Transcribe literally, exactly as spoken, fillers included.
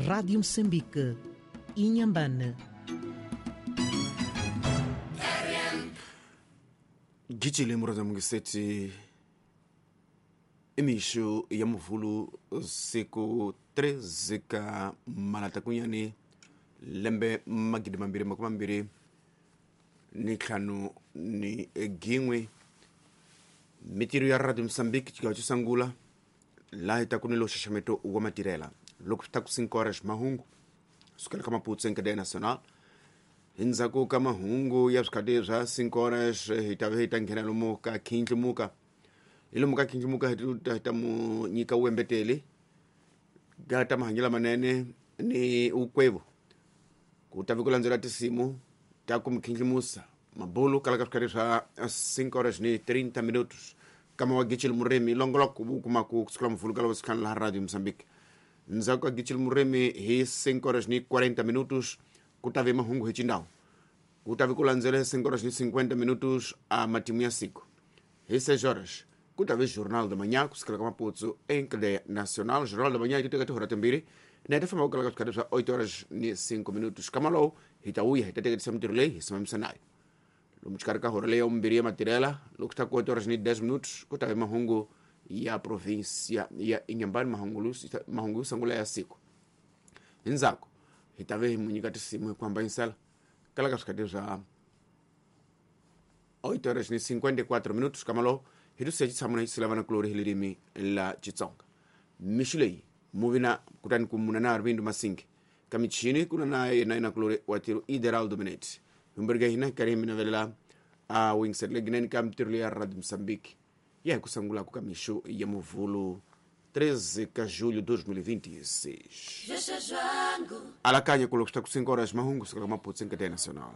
Rádio Moçambique, Inhambane. Gijile muraza mungiseti emixo ya muvulu siku treze ka malatakunyani lembe magidi mambirhi makume mambirhi ni ntlhanu ni gin'we mitirho ya Radio Moçambique xigawo xo sungula laha hi taku ni lo xaxameto wa matirhela loko swi ta ku cinco horas mahungu sukela ka Maputo Encadeia Nacional hi ndzhaku ka mahungu ya swikhati swa cinco horas hi ta ve hi ta nghena lomu ka khindlimuka hi lomu ka khindlimuka hi ta hi ta mu nyika wembeteli ka ta mahanyelo lamanene ni ukwevu ku ta vi ku landzela tinsimu ta ku mikhindlimusa mabulu kala ka swikhati swa cinco horas ni trinta minutos kama wa Gichil Muremi longoloko wu kuma ku kusukela muvulu ka lava sikhani laha Radio Moçambique ndzhaku ka Gichil Muremi hi cinco horas ni quarenta minutos ku ta ve mahungu hi xindhawu ku ta vi ku landzela cinco horas ni cinquenta minutos a matimu ya siku hi seis horas ku ta ve Jornal da Manhã kusukela ka Maputo Encadeia Nacional. Jornal da Manhã yi teka tihora timbirhi na hi ta famba ku kala ka swikhati swa oito horas ni cinco minutos kama lowu hi ta vuya hi ta teketisa mitirho leyi hi simamisa nayo lomu xikarhi ka hora leyi ya vumbirhi ya matirhela loko swi ta ku oito horas ni dez minutos ku ta ve mahungu ya provinsia ya Inhambane, mahungu mahungu yo sungula ya siku hi ndzhaku hi ta ve hi mu nyika tinsimu hi ku hambanyisela kala ka swikhati swa oito horas ni cinquenta e quatro minutos kama lowu hi tu siya xitshamo na xisilavana kulori hi ririmi la Xitsonga mixo leyi muvina kutani ku muna na Arvindo Masingi ka michini kuna na yena yena kulori wa tiro Ideraldo Minete humberga hina karhi hi mi navelela a wingset legineni ka mitirho ya Radio Moçambique ya hi ku sungulaku ka mixo ya muvulu treze ka julho dois mil e vinte e seis. Alakanya ku loko swi ta ku cinco horas mahungu sukela ka Maputo Encadeia Nacional.